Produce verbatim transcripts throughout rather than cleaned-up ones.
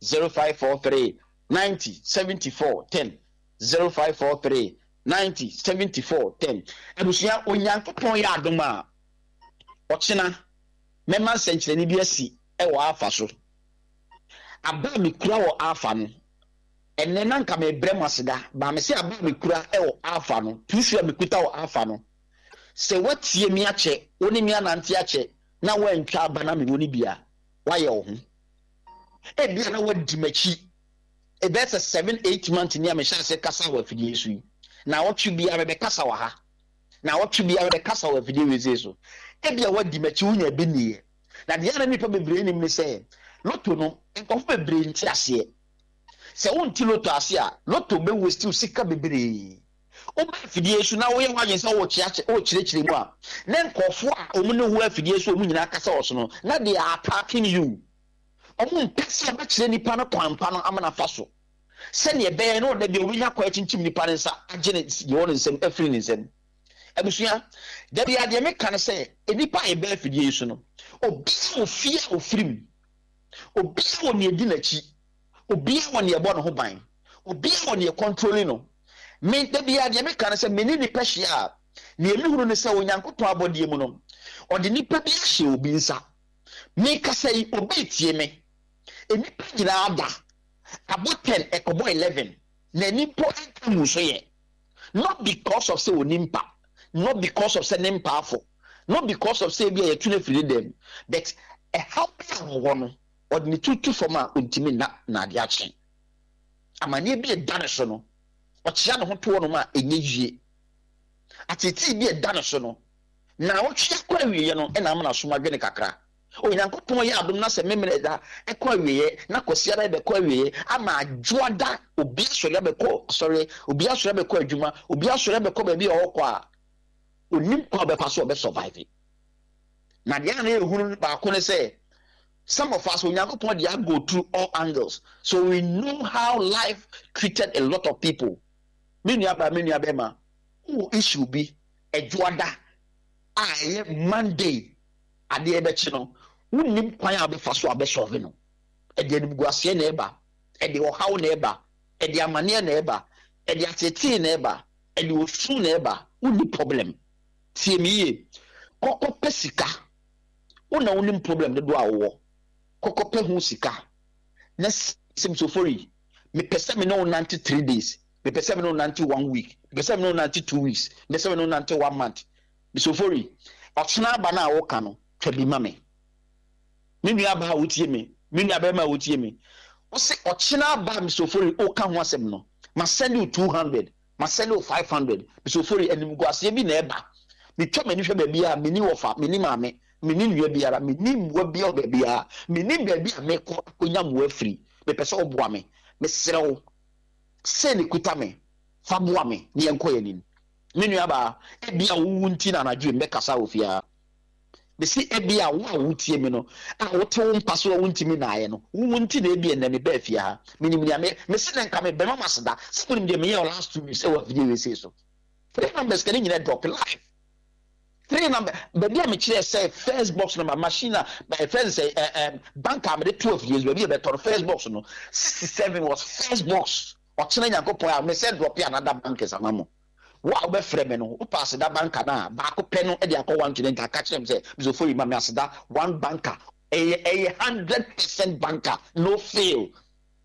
zero five four three ninety seventy four ten zero five four three ninety seventy four ten. Abusua, Onyankopɔn yɛ adom a, ɔkyena mɛma nsɛnkyerɛnne bi asi ɛwɔ Alpha so. Aba a mekura wɔ Alpha no, ɛnɛ na nka mebrɛ mo aseda baa me sɛ aba a mekura ɛwɔ Alpha no, tuusu a mekuta wɔ Alpha no, sɛ woatie mi akyɛ, wo ne mi anante akyɛ na woantwa aba na mewɔ no bi a, woayɛ wo ho. Ebia na woadi m'akyi ɛbɛyɛ sɛ seven eight months ni a mehyɛ ase kasa wɔ afidie so yi. Na wɔtwe biara mebɛkasa wɔ ha, na wɔtwe biara mebɛkasa wɔ afidie wei so. Ebia woadi m'akyi, wonya bi nniɛ. Na deɛ na nipa bebree nim ne sɛ lotto no, nkɔfo bebree nte aseɛ. Sɛ wonte lotto ase a, lotto bɛ waste sika bebree. Woba afidie so na woyɛ w'adwene sɛ wokyerɛkyerɛ mu a, na nkɔfoɔ a wɔn ne ho afidie so, wɔn nyinaa kasa wɔ so no, na they are attacking you. Wɔn mpɛ sɛ wɔbɛkyerɛ nipa no kwan pa no ama nafa so, sɛnea ɛbɛyɛ na ɔda bi a obɛnya kwan akyinkyim nipa no nsa agye ne deɛ wɔ ne nsam afiri ne nsam. Abusua, dabi, adeɛ meka no sɛ nipa a yɛbɛ afidie yi so no, obiara wɔ fie a ofiri mu, obiara wɔ nea edi n'akyi, obiara wɔ nea ɛbɔ ne ho ban, obiara wɔ nea control no. Me dabi, adeɛ meka no sɛ me ne nipa hyia a, nea mehunu ne sɛ Onyankopɔn abɔdeɛ mu no, ɔde nipa bi ahyɛ obi nsa. Mekasa yi, obi tie me. Nipa nyinaa da abɔ ten, ɛkɔbɔ eleven, na nipa nka mu so yɛ, not because of sɛ onimpa, not because of sɛ ne mpaafo, not because of sɛ ebi a yɛtu no afiri ne dɛm, but ɛhaw bi a wɔwɔ no, ɔde ne tutu fam a ontumi nna. Na adeɛ akye, amanneɛ bi ɛda ne so no, ɔkyea ne ho toɔ nom a ɛnyɛ yie. Atetee bi ɛda ne so no, na ɔtwe akɔ awieɛ no, ɛna ama n'asom adwene kakra. Onyankopɔn yɛ adom na sɛ Memene da ɛkɔ awieɛ na Kwasiara bɛkɔ awieɛ ama Adwoada, obi asɔre abɛkɔ asɔre, obi asɔre abɛkɔ adwuma, obi asɔre abɛkɔ baabi a ɔkɔ a onim kwan a ɔbɛfa so ɔbɛ survive. Na deɛ ana ehunu baako ne sɛ some of us, Onyankopɔn de go through all angles, so we know how life treated a lot of people. Me nua baa, me nua bɛrima, wowɔ issue bi Ɛdwoada a ɛyɛ Monday adeɛ bɛkyi no, wonnim kwan a wobɛfa so a bɛ solve no. Ɛde animguaseɛ na ɛba, ɛde ɔhaw na ɛba, ɛde amanneɛ na ɛba, ɛde atetee na ɛba, ɛde osu na ɛba. Wonni problem. Tie me yie, kɔkɔ pɛ sika. Wo na wonim problem dodoɔ a wowɔ. Kɔkɔ pɛ ho sika na sɛm sofori, mepɛ sɛ me ne wo nante three days, mepɛ sɛ me ne wo nante one week, mepɛ sɛ me ne wo nante two weeks, mepɛ sɛ me ne wo nante one month. Mesofori, ɔkyena aba no a woka no, twa bi ma me. Me nua aba a wotie me, me nua bɛrima a wotie me, wose ɔkyena aba a mesofori woka ho asɛm no, ma send you two hundred, ma send you five hundred. Mesofori, animguaseɛ bi na ɛba. Metwa m'ani hwɛ baabi a menni wɔfa, menni maame, menni nua biara, menni mmoa biara wɔ baabi a menni baabi a mekɔ akɔnya mmoa afiri. Mepɛ sɛ woboa me. Mesrɛ wo, sei ne kuta me, fa boa me ne yɛnkɔ yɛn anim. Me nua baa, ebi a wowu nti na anadwo yi mbɛkasa wɔ fie ha. Mesi ebi a wo a wotie me no a wote wo mpa so a wontumi naayɛ no, wowu nti na ebi ɛnɛ me bɛɛ fie ha. Menim nea me mesi ne nka me bɛma ma seda sɛ wonim deɛ meyɛ wɔ last two weeks ɛwɔ afidie wei sei so. Three numbers kɛ ne nyinaa drop live. Three number baabi a mekyerɛ sɛ first box number machine a first sɛ ɛ ɛ bank a mede twelve years baabi a bɛtɔ no, first box no sixty seven was first box. Ɔkyerɛ Nyankopɔn a mesɛ drop another bankers ama mo. Wo a wobɛfrɛ me no, wopɛ aseda banker no a baako pɛ no de akɔ one twenty, aka kyerɛ me sɛ Misofori, ma me aseda one banker. Ɛyɛ ɛyɛ hundred percent banker, no fail.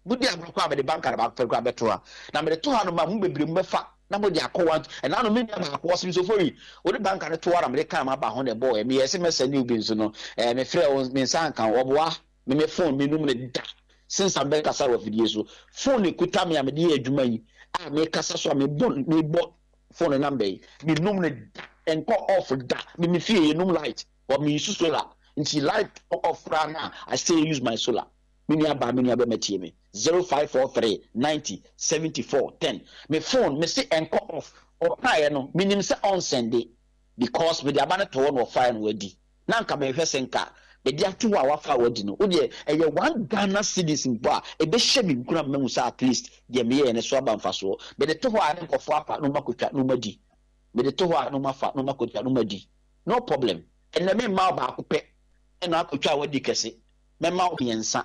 Mode agorɔ kɔ a, mede banker no baako pɛ koraa bɛto ha na mede to ha no ma mo bebree mu bɛfa na mode akɔ one. Ɛna no me nua baako ɔsɛ Misofori, wode banker no to ha na mede kaa ma ba ho na ɛbɔɔ. Meyɛ sɛ mɛsɛ ne obi nso no, ɛɛ mefrɛ wo, me nsa nka wo. Ɔboa me me phone menum ne da since abɛkasa wɔ afidie so. Phone ekuta me a mede yɛ adwuma yi a mekasa so a mebɔ mebɔ phone number yi, menum ne da, nkɔ off da. Me me fie yɛnum light or me use solar, nti light off koraa na I still use my solar. Me nua baa, me nua bɛma, tie me: zero five four three ninety seventy four ten. Me phone me se nkɔ off. Ɔkaeɛ no, menim sɛ ɔnsɛnde because mede aba no to hɔ na ɔfaeɛ no wadi na nka mehwɛ sɛ nka mede ato hɔ a wafa a wadi no. Wodeɛ ɛyɛ one Ghana cedis mpo a ɛbɛhyɛ me nkura mmahu sɛ at least deɛ meyɛɛ no so aba mfasoɔ. Mede to hɔ a ne nkɔfoɔ afa na ɔmakɔtwa na ɔmadi. Mede to hɔ a na ɔmafa na ɔmakɔtwa na ɔmadi, no problem. Ɛnɛ memma wo baako pɛ ɛna akɔtwa a wadi kɛse, mɛma wo mmiɛnsa.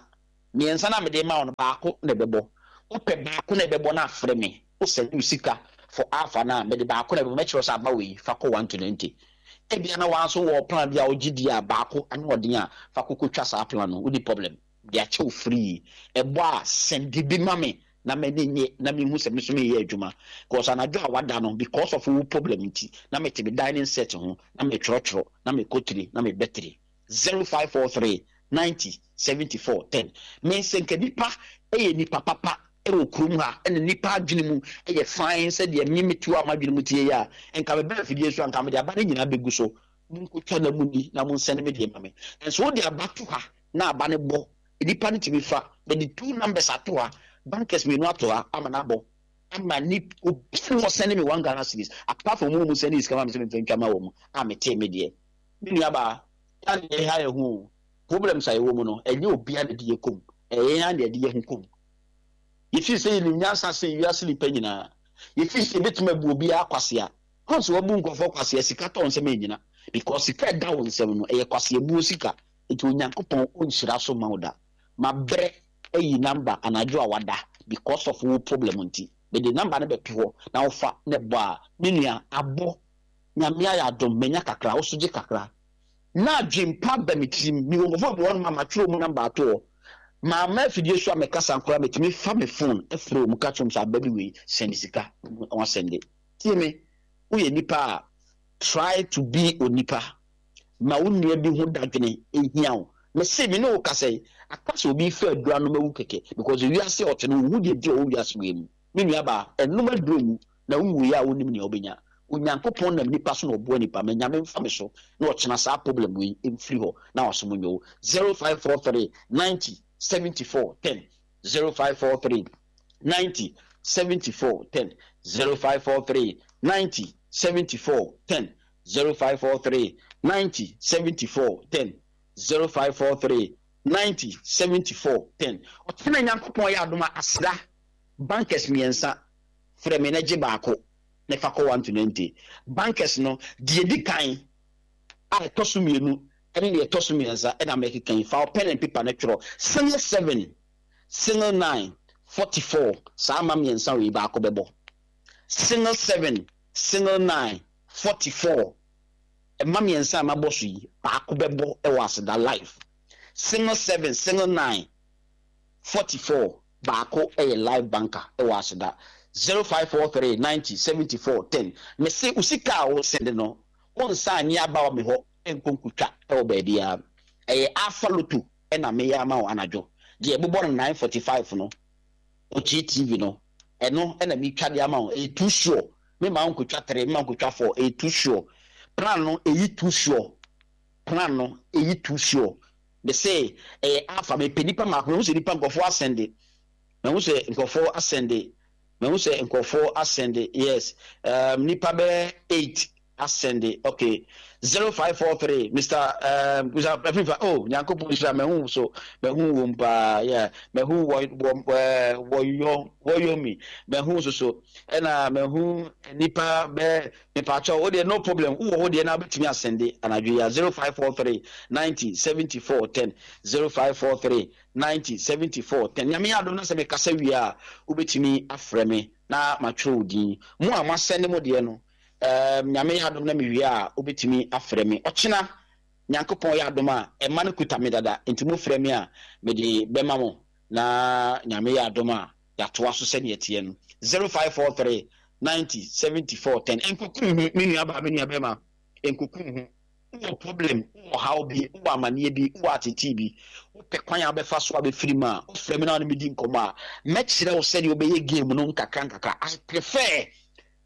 Mmiɛnsa na mede ma wo no, baako na ɛbɛbɔ. Wopɛ baako na ɛbɛbɔ no, afrɛ me. Wosɛne wo sika for Alpha no a, mede baako na ɛbɛbɔ. Mɛkyerɛ sɛ aba wei, fa kɔ one to ninety. Ebia na wɔn nso wɔ plan bi a wogye di a, baako ano ɔden a, fa koko twa saa plan no. Wodi problem de akyɛw free. Ɛbɔ a, send bi ma me na m'ani nye na mehu sɛ me nso meyɛ adwuma, because anadwo a wada no, because of wo problem nti na mete me dining set ho na metwerɛtwerɛ na mekɔ tiri na mebɛ tiri. Zero five four three ninety seventy four ten. Me nsɛ nka nipa ɛyɛ nipa papa ɛwɔ kurom ha, ɛna nipa adwene mu ɛyɛ fine sɛdeɛ me metu a m'adwene mu tie yɛ a, nka mebɛ afidie so a, nka mede aba no nyinaa bɛgu so. Monkotwa na mu ni na monsɛne me deɛ ma me. Nso wode aba to ha na aba no bɔ, nipa no tumi fa. Mede two numbers ato ha, bankers mmienu ato ha ama no abɔ ama ni. Obi a wɔsɛne me one Ghana cedis apart from mu mu sɛne sika ma me sɛ memfa ntwa ma wɔ mu a metee me deɛ. Me nua baa ya ne yɛ ha, yɛ ho problems a yɛwɔ mu no, ɛnyɛ obia na de yɛ kom, ɛyɛ yɛn na yɛde yɛ ho kom. Yɛfiri sɛ yɛnim nyansa sen wiase nipa nyinaa. Yɛfiri sɛ yɛbɛtumi abu obiara kwasea. Kɔn sɛ wabu nkurɔfoɔ kwasea, sika tɔ nsɛm ɛnyina, because sika ɛda wo nsɛm no, ɛyɛ kwasea buo sika. Nti Onyankopɔn ɔnhyira so ma wo da. Mabrɛ ayi number anadwo a wada because of wo problem nti mede number no bɛto hɔ na wofa ne bɔ a, me nua, abɔ. Nyame ayɛ adom, manya kakra, wo so gye kakra na adwempa ba me tirim. Mewɔ nkurɔfoɔ bi hɔ nom a matwerɛ mu number ato hɔ. Maama afidie so a mekasa nkora, metumi fa me phone ɛfrɛ mu ka kyerɛ m sɛ aba bi wei, sɛnde sika. Wasɛnde. Tie me, woyɛ nipa a, try to be onipa ma wo nua bi ho dadwene ehia wo. Mese me ne wo kasa yi, aka sɛ obi fa aduro anom awu kɛkɛ, because wiase a ɔte no, wohu deɛ di a ɔwɔ wiase wei mu. Me nua baa, ɛnom aduro wu na wonwu yɛ a, wonim nea wobɛnya. Onyankopɔn nam nipa so na ɔboa nipa. Ma Nyame mfa me so na ɔkyena saa problem wei mfiri hɔ na wasom nyɛ wo. zero five four three ninety seventy-four ten, zero five four three ninety seventy-four ten, zero five four three ninety seventy-four ten, zero five four three ninety seventy-four ten, zero five four three ninety seventy-four ten. Ɔtena Nyankopɔn yɛ adom a, aseda bankers mmiɛnsa, frɛ me na gye baako na fa kɔ one to ninety. Bankers no deɛ, di kan a ɛtɔ so mmienu ɛne deɛ ɛtɔ so mmiɛnsa ɛna mɛkeka yi. Fa wo pen and paper no twerɛ single seven, single nine, forty four. Saa ama mmiɛnsa wei, baako bɛbɔ. Single seven, single nine, forty four. Ɛma mmiɛnsa a mabɔ so yi, baako bɛbɔ ɛwɔ Aseda Live. Single seven, single nine, forty four, baako ɛyɛ live banker ɛwɔ Aseda. Zero five four three ninety seventy four ten. Mese osika a wosɛnde no, wɔnsa anyi aba wɔ me hɔ nkonkotwa ɛwɔ baabi a ɛyɛ Alpha Lotto ɛna meyɛ ama wo anadwo deɛ ɛbobɔ no nine forty five no, Okyi T V no, ɛno ɛna metwa de ama wo. Ɛyɛ too sure. Me ma nkotwa three, me ma nkotwa four, ɛyɛ too sure. Plan no ɛyi too sure, plan no ɛyi too sure. De sɛ ɛyɛ Alpha. Mepɛ nipa mako. Mehu sɛ nipa nkɔfoɔ asɛnde, mehu sɛ nkɔfoɔ asɛnde, mehu sɛ nkɔfoɔ asɛnde. Yes, um, nipa bɛyɛ eight asɛnde. Okay, zero five four three, Mister um, Mister Afifa. Oh, Nyankopɔn nhyira. Mehu so, mehu wɔm paa. Yeah, mehu wɔ wɔ ɛɛ wɔyɔ wɔyɔ mi, mehu so so ɛna mehu nipa bɛɛ. Mipakyɛw, o deɛ, no problem. Wowɔ hɔ deɛ na wobɛtumi asɛnde anadwo yi a, zero five four three ninety seventy four ten, zero five four three ninety seventy four ten. Nyame yɛ adom na sɛ mekasa wie a, wobɛtumi afrɛ me na matwerɛ wo din. Mo a moasɛnde mo deɛ no, um, Nyame yɛ adom na mewie a, wobɛtumi afrɛ me. Ɔkyena Nyankopɔn yɛ adom a, ɛma no kuta me dada, nti mofrɛ me a, mede bɛma mo na Nyame yɛ adom a, yɛatoa so sɛneɛ teɛ no. zero five four three ninety seventy four ten. Nkuku ho, me nua baa, me nua bɛma, nkuku ho. Wowɔ problem, wowɔ haw bi, wowɔ amanneɛ bi, wowɔ atetee bi, wopɛ kwan a wobɛfa so a bɛfiri mu a, wofrɛ me na wone medi nkɔmmɔ a, mɛkyerɛ wo sɛdeɛ wobɛyɛ game no nkakra nkakra. I prefer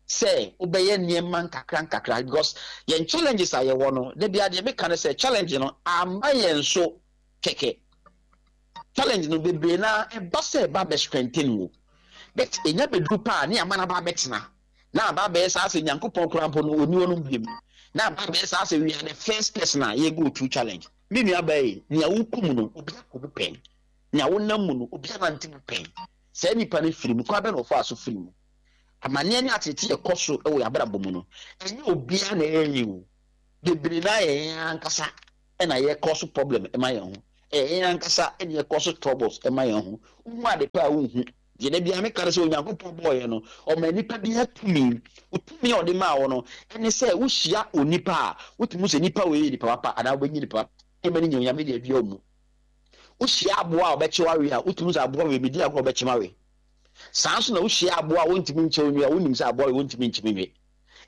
sɛ wobɛyɛ nneɛma nkakra nkakra, because yɛn challenges a yɛwɔ no da bia deɛ meka no sɛ challenge no ama yɛn so kɛkɛ. Challenge no bebree na ɛba sɛ ɛba bɛ strengthen wo, but ɛnya bɛduru paa ne ama no aba abɛtena na aba abɛyɛ saa sɛ Nyankopɔn koraa mpo no ɔni hɔ no biom, na aba abɛyɛ saa sɛ we are the first person a yɛ go through challenge. Me nua baa yi, nea wokɔ mu no, obi akɔ mu pɛn. Nea wonam mu no, obi anante mu pɛn. Saa nipa no firi mu kwan bɛ na ɔfa so firi mu. Amanneɛ ne atete ɛkɔ so wɔ yɛabrabɔ mu no, ɛnyɛ obiara na ɛyɛ yi o. Bebree na yɛ yɛn ankasa ɛna yɛkɔ so problem ɛma yɛn ho. Ɛyɛ yɛn ankasa ɛne ɛkɔ so troubles ɛma yɛn ho. Wohu ade pa a wonhu. Deɛ da biara meka no sɛ Onyankopɔn bɔɔ yɛn no, ɔma nipa biara tumi. Tumi a ɔde maa wo no, ɛne sɛ wohyia onipa a, wotumi hu sɛ nipa wei yɛ nipa papa anaa wobɛnyi nipa papa. Nneɛma no nyɛ Onyame de adua wo mu. Wohyia aboa a ɔbɛkye wo awe a, wotumi hu sɛ aboa wei medi agorɔ ɔbɛkye me awe. Saa nso na wohyia aboa a wɔntumi nkyɛ wo nwi a, wonim sɛ aboa wei wɔntumi nkye me nwe.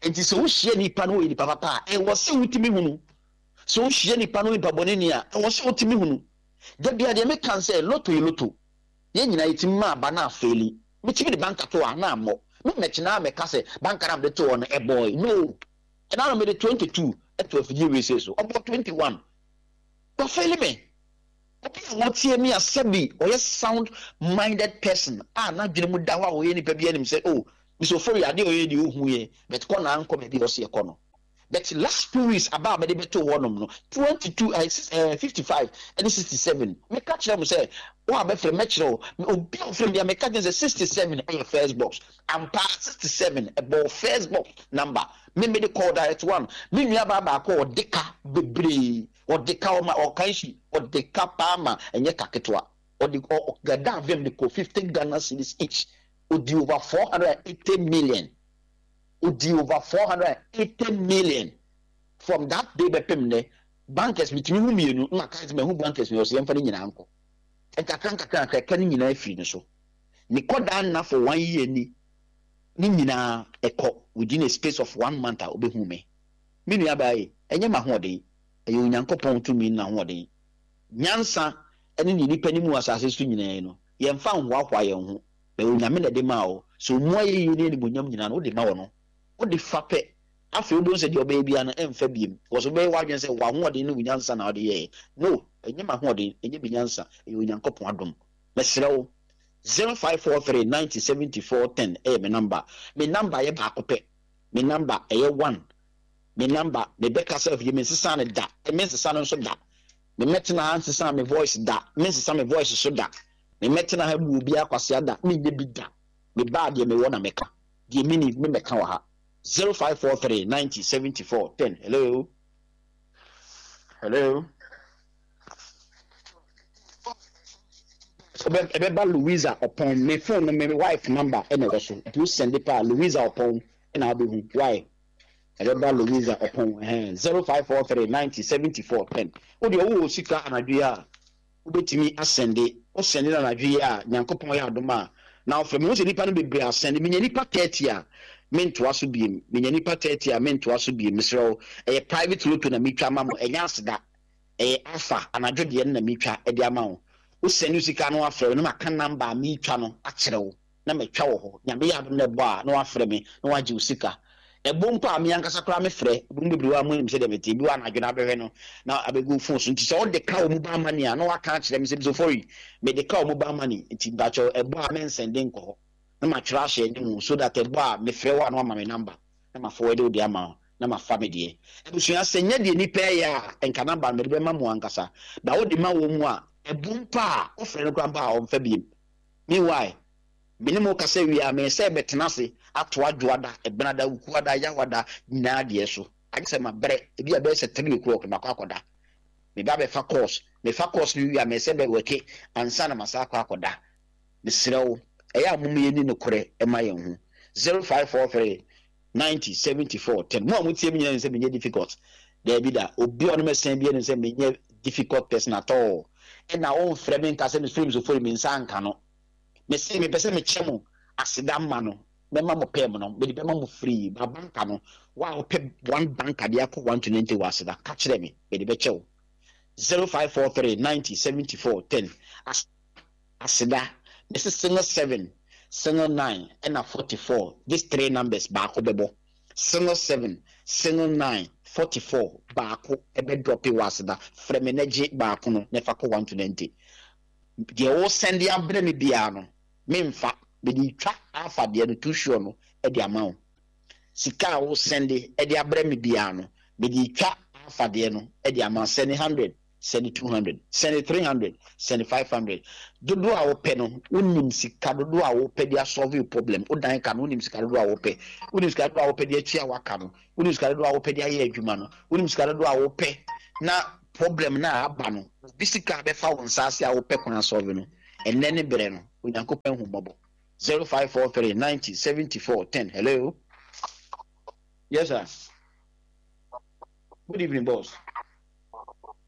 Enti sɛ wohyia nipa no ɔyɛ nipa papa a, ɛwɔ sɛ wotumi hunu. Sɛ wohyia nipa no ɔyɛ nipa bɔneni a, ɛwɔ sɛ wotumi hunu. Da biara deɛ meka ne sɛ, lotto yɛ lotto. Yɛn nyinaa yɛtumi ma aba na afeeli. Metumi de banka to hɔ a, na ammɔ. Me mmɛkyena ara mmɛka sɛ banka no a mede too hɔ no, ɛbɔe. No! Ɛna no mede twenty two to afidie wei sei so. Ɔbɔɔ twenty one. Wafeeli me. Obi a ɔtie me a sɛbi ɔyɛ sound minded person a n'adwene mu da hɔ a ɔyɛ nipa bi anim sɛ oh, Mister Ofori adeɛ a ɔyɛ deɛ ɔhu yɛ, but kɔ na ankɔ baabi a ɔse ɛkɔ no. But last two weeks aba a mede bɛtoo hɔnom no, twenty two, eh, six, eh, fifty five ɛne sixty seven. Meka kyerɛ mo sɛ, wo a bɛfrɛ mɛkyerɛ wo. Obi a ɔfrɛ me bia meka kyerɛ sɛ sixty seven ɛyɛ first box. Ampa sixty seven ɛbɔɔ first box number. Me mede kɔɔ direct one. Me nua baa baako a ɔde ka bebree, ɔde ka ɔma ɔka nsi, ɔde ka paa ma ɛnyɛ ka ketewa. Ɔde ɔ gada vim de kɔ fifty Ghana cedis each. Ɔdi over four hundred and eighty million. Odi over four hundred and eighty million from that day bɛpem nnɛ. Bankers metumi hu mmienu na maka sɛ mahu bankers mmienu, ɔsɛ yɛmfa ne nyinaa nkɔ. Nkakra nkakra nkakra ɛka ne nyinaa firi ne so. Ne kɔdaa nna for one year ni ne nyinaa ɛkɔ within a space of one month a ɔbɛhu me. Me nua baa yi, ɛnyɛ m'ahoɔden, ɛyɛ Onyankopɔn tumi ne n'ahoɔden. Nyansa ne ne nipa nim wɔ asase so nyinaa yi no, yɛmfa nhoahoa yɛn ho. Bɛyɛ Onyame na ɛde maa wo. Sɛ ɔmu ayɛyie ne animuonyam nyinaa no, wode ma wɔ no. Wode fa pɛ. Afei wobɛhu sɛ deɛ ɔbɛyɛ biara no, ɛmfa biem. Because wobɛyɛ w'adwene sɛ w'ahoɔden ne wo nyansa na wode yɛeɛ. No, ɛnyɛ m'ahoɔden, ɛnyɛ me nyansa, ɛyɛ Onyankopɔn adom. Mesrɛ wo, zero five four three ninety seventy four ten ɛyɛ me number. Me number yɛ baako pɛ. Me number ɛyɛ one. Me number, mebɛkasa afie, mensesa no da. Mensesa no nso da. Memmɛtena ha nsesa me voice da. Mensesa me voice so da. Memmɛtena ha mmu obiara kwasea da. Menyɛ bi da. Mebaa deɛ mewɔ na meka. Deɛ menni, memmɛka wɔ ha. zero five four three ninety seventy four ten. Hello? Hello? Ɛbɛba Louisa Ɔpɔn. Me phone no, me wife number ɛna ɛwɔ so. Nti wo send pa Louisa Ɔpɔn ɛna wobɛhu. Why? Ɛbɛba Louisa Ɔpɔn. Ɛhɛn. zero five four three ninety seventy four ten. Wo deɛ wowɔ sika anadwo yi a, wobɛtumi asɛnde. Wo sɛnde no anadwo yi a, Nyankopɔn yɛ adom a, na wofrɛ me. Mehu sɛ nnipa no bebree asɛnde. Menya nnipa thirty a, mentoa so biem. Menya nnipa thirty a, mentoa so biem. Mesrɛ wo, ɛyɛ private lotto na metwa ama mo. Ɛnyɛ aseda. Ɛyɛ alpha anadwo deɛ no na metwa de ama wo. Wo sɛnde wo sika na wafrɛ me na maka number a metwa no akyerɛ wo na matwa wɔ hɔ. Nyame yɛ adom na ɛbɔ a, na wafrɛ me na wagye wo sika. Ɛbɔ mpo a, me ankasa koraa mefrɛ. Mo bebree wɔ ha a monim sɛdeɛ mete. Ebi wɔ hɔ a anadwo no abɛhwɛ no na abɛgu wo phone so. Nti sɛ wode ka wo mobile money a, na waka akyerɛ me sɛ, Mr. Ofori, mede ka wo mobile money nti mpakyɛw ɛbɔ a mɛnsɛnde nkɔ hɔ. Na matwerɛ ahyɛ anim so that ɛbɔ a mefrɛ wo a na wama me number na ma forward wo de ama wo na mafa me deɛ. Abusua, sɛ nyɛ deɛ nipa ɛyɛ a, nka number no mede bɛma mo ankasa. Ba wode ma wɔ mu a, ɛbɔ mpo a, wofrɛ no koraa mpo a ɔmfa biem. Meanwhile, me ne mo kasa wie a, me sɛ bɛtena ase ato adwoada, ɛbenada, wukuada, yawada nyinaa deɛ so. Agye sɛ mabrɛ, ebi a bɛyɛ sɛ three o'clock na makɔ akɔda. Me ba bɛfa course, mefa course no wie a, me sɛ bɛwɛke ansa na masa akɔ akɔda. Mesrɛ wo, ɛyɛ a mom yɛni nokorɛ ɛma yɛn ho. zero five four three ninety seventy four ten. Mo a motie me nyinaa nim sɛ menyɛ difficult. Daabi da, obi a ɔne me sɛn bi nim sɛ menyɛ difficult person at all. Ɛna ɔmfrɛ me nka sɛ mesɔre mesɔfori me nsa nka no. Mese mepɛ sɛ mekyɛ mo aseda mma no, mɛma mo pɛm no, mede bɛma mo free. Ba banka no, wo a wopɛ one banka de akɔ one to ninety wɔ aseda, ka kyerɛ me, mede bɛkyɛ wo. zero five four three ninety seventy four ten. Aseda, mese single seven, single nine, ɛna forty four. These three numbers baako bɛbɔ. Single seven, single nine, forty four baako ɛbɛ drop wɔ aseda. Frɛ me na gye baako no na fa kɔ one to ninety. Deɛ wo send abrɛ me biara no, memfa, mede twa alpha deɛ no too sure no ɛde ama wo. Sika a wo send ɛde abrɛ me biara no, mede twa alpha deɛ no ɛde ama wo. Send hundred, send two hundred, send three hundred, send five hundred. Dodoɔ a wopɛ no, wonim sika dodoɔ a wopɛ de asolve your problem. Wodan ka no, wonim sika dodoɔ a wopɛ. Wonim sika dodoɔ a wopɛ de atua waka no. Wonim sika dodoɔ a wopɛ de ayɛ adwuma no. Wonim sika dodoɔ a wopɛ na Problem na aba no, obi sika bɛfa wo nsa ase a wopɛ kwan asɔre no, ɛnɛ ne berɛ no, Onyankopɔn hu mmɔbɔ. zero five four three ninety seventy four ten. Hello. Yes, sir. Good evening, boss.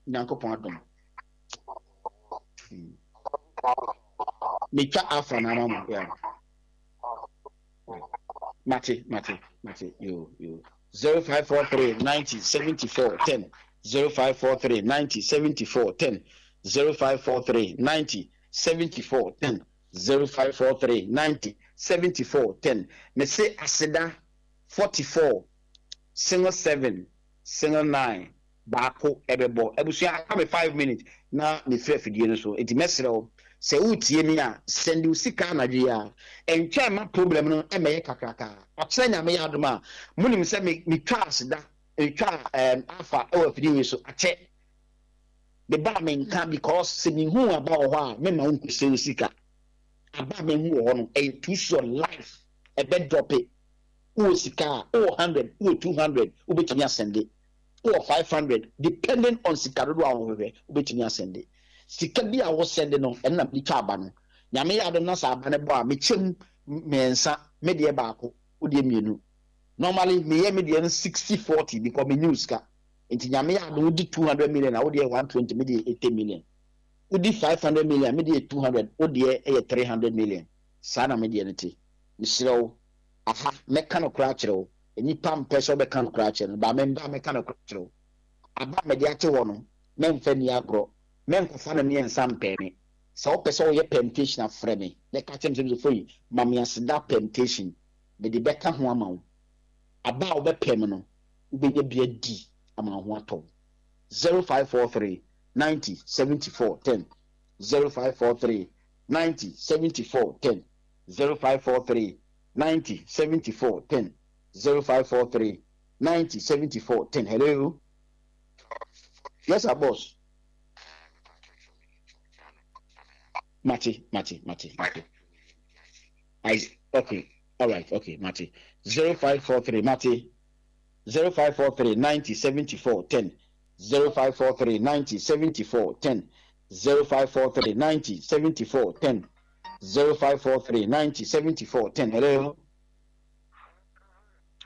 Nyankopɔn adom. Hmm. Metwa afa na ama mo. Yeah. Mate, mate, mate. Yo, yo. zero five four three ninety seventy four ten. zero five four three ninety seventy four ten. zero five four three ninety seventy four ten. zero five four three ninety seventy four ten. Mese aseda forty four single seven single nine baako ɛbɛbɔ. Abusua, aka me five minutes na mefiri afidie no so, eti mɛsrɛ wo sɛ wotie mi a, send wo sika anadwo yi a, ɛntwɛn ma problem no ɛmɛyɛ kakraka. Ɔkyerɛ Nyame yɛ adom a, monim sɛ me metwa aseda, metwa ɛɛm afa ɛwɔ afidie yi so akyɛ me ba menka, because sɛ mehu aba wɔ hɔ a, mema wo nkɔsɛ wo sika. Aba a mehu wɔ hɔ no ɛyɛ too sure life ɛbɛ drop. Wowɔ sika a, wowɔ hundred, wowɔ two hundred, wobɛtumi asend. Wowɔ five hundred, depending on sika dodoɔ a wɔhwehwɛ, wobɛtumi asend sika bi a wosend no. Ɛno na mede twa aba no. Nyame yɛ adom na sɛ aba no bɔ a, mekyɛm mmiɛnsa, me deɛ baako, wodeɛ mmienu. Normally meyɛ me deɛ no sixty forty because menyi wo sika. Nti Nyame yɛ adom, wodi two hundred million a, wodeɛ one twenty, me deɛ eighty million. Wodi five hundred million, me deɛ two hundred, wodeɛ ɛyɛ three hundred million. Saa na me deɛ no te. Mesrɛ wo, aha mɛka no koraa kyerɛ wo. Nipa mpɛ sɛ wobɛka no koraa kyerɛ no ba, memba mɛka no koraa kyerɛ wo. Aba a mede ate hɔ no, mɛmfa ni agorɔ, mɛnkɔfa no mmiɛnsa mpɛɛ me. Sɛ wopɛ sɛ woyɛ permutation a, frɛ me na ka kyerɛ me sɛ, "Fo ma me aseda permutation." Mede bɛka ho ama wo. Aba a wobɛpɛ me no, wobɛnya bi adi ama wo ho atɔ wo. zero five four three ninety seventy-four ten, zero five four three ninety seventy-four ten, zero five four three ninety seventy-four ten, zero five four three ninety seventy-four ten. Hello. Yes sir, boss. Mate, mate, mate, mate. I okay, all right, okay, mate. zero five four three, mate. zero five four three ninety seventy-four ten, zero five four three ninety seventy-four ten, zero five four three ninety seventy-four ten, zero five four three ninety seventy-four ten. Hello.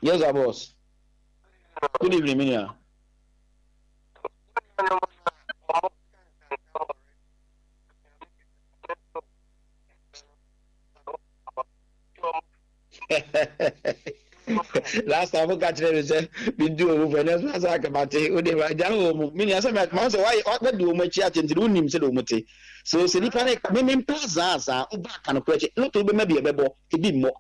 Yes sir, boss. Good evening, Minia. Last time woka kyerɛ me sɛ medi wɔ mu fɛ nɛ so asa akamate wode agya wɔ mu. Menua, sɛ ma sɛ wadi wɔ mu akyi akyɛ nti wonim sɛde wɔ mu te so. Sɛ nipa ne memempɛ azaa saa, woba aka no korɛ kyɛ loto wobɛma bi ɛbɛbɔ ebi mmɔ.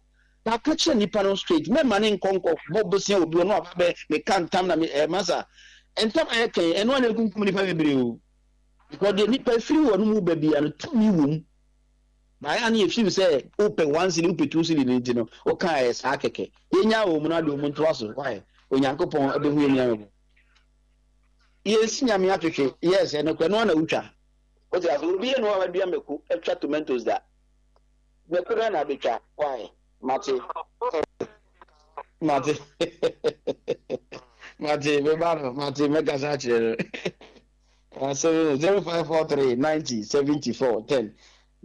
Baka kyerɛ nipa no straight, mɛma ne nkɔnkɔ bɔ bosia obi ɔno aba bɛ meka ntam na me masa ntam a yɛkɛn ɛno ana ekunkum nipa bebree o, because deɛ nipa firi wɔ no mu ba bia no, tumi wɔ mu baayɛ ne yɛfim sɛ wopɛ one cedi, wopɛ two cedi no, nti no woka yɛ saa kɛkɛ. Yɛnya wɔ mu no ade wɔ mu ntoa so. Why Onyankopɔn ɛbɛhu yɛ nua yɛsi Nyame atwetwe. Yes, ɛno kora no ana wotwa wote ase. Obi yɛ no a wadua mako, atwa tomatoes da mako no na abɛtwa. Why? Mate, mate, mate. Meba no, mate, mɛkasa akyerɛ no. Asɛm zero five four three ninety seventy four ten,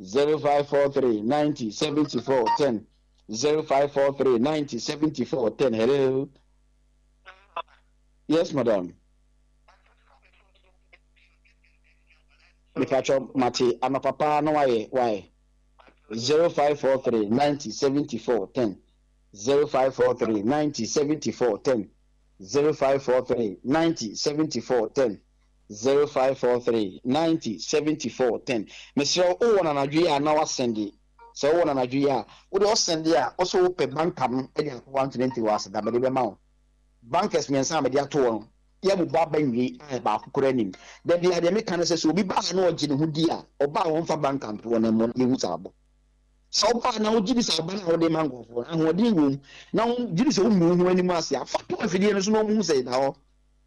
zero five four three ninety seventy four ten, zero five four three ninety seventy four ten. Hello. Yes, madam. Mepatwɔ, mate. Anɔpa paa na wayɛ wayɛ. zero five four three ninety seventy four ten, zero five four three ninety seventy four ten, zero five four three ninety seventy four ten, zero five four three ninety seventy four ten. Mesrɛ wo, wowɔ nanadwo yi a na wasend. Sɛ wowɔ nanadwo yi a, wode ɔsend a, wosɛ wopɛ banker no de akɔ one twenty wɔ aseda mede bɛma wo. Bankers mmiɛnsa a mede ato hɔ no, yɛbobɔ aba nwie a, baako koraa anim. Dabi a, deɛ meka no sɛ sɛ obi baa na ɔgye ne ho di a, ɔbaa a wɔmfa banker ntoɔ no mmɔ no, yɛhu sɛ abɔ. Sɛ ɔbaa na wogye di sɛ aba no a wode ma nkurɔfoɔ no ahoɔden wɔ mu na wogye di sɛ womu wo ho anim ase a, fa to afidie no so na ɔmuhu sɛ da hɔ.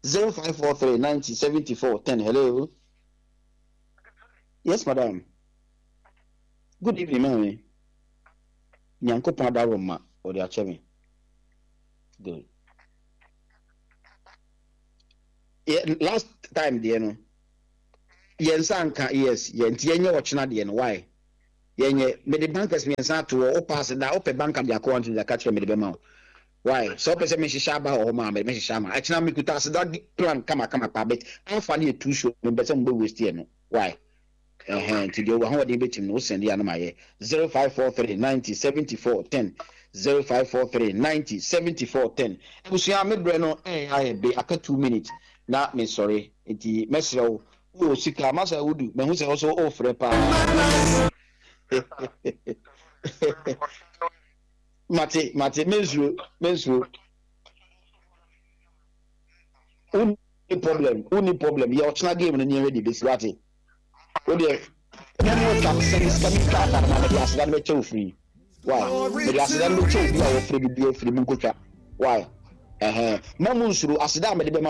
zero five four three ninety seventy-four ten. Hello. Yes, madam. Good evening, maame. Nyankopɔn adaworo ma ɔde akyɛ me. Good. Yeah, last time deɛ no. Yɛn nsa nka, yes, yɛn nti yɛnyɛ ɔkyena deɛ no. Why yɛnyɛ? Mede bankers mmiɛnsa ato hɔ. Wopɛ ase da, wopɛ banker de akɔ wanto de aka kyerɛ, mede bɛma wo. Why sɛ wopɛ sɛ mehyehyɛ aba wɔ hɔ ma mede mehyehyɛ ama ɛkyena. Mekuta aseda plan kamakama paa, but alpha ne yɛ too sure, mepɛ sɛ mobɛ waste yɛ no. Why? Ɛhɛn, nti deɛ wahoɔden bɛtim no, wosɛn deɛ anam ayɛ zero five four three ninety seventy four ten, zero five four three ninety seventy four ten. Abusua, me brɛ no ɛyɛ ayɛ be aka two minutes na mesɔre, nti mɛsrɛ wo, wowɔ sika masa wodu mahu sɛ wo so wofrɛ paa. Mate, mate, mensuro, mensuro. Wonni problem, wonni problem. Yɛ ɔkyena game no nneɛma de bɛsi, wate? Wodeɛ mɛmo twa sɛne sika mi twa aba no ma mede aseda no bɛkyɛ wo firi. Why mede aseda no bɛkyɛ obi a wɔfrɛ bi bi afiri mu nkotwa? Why? Ɛhɛn, ma mu nsuro aseda a mede bɛma.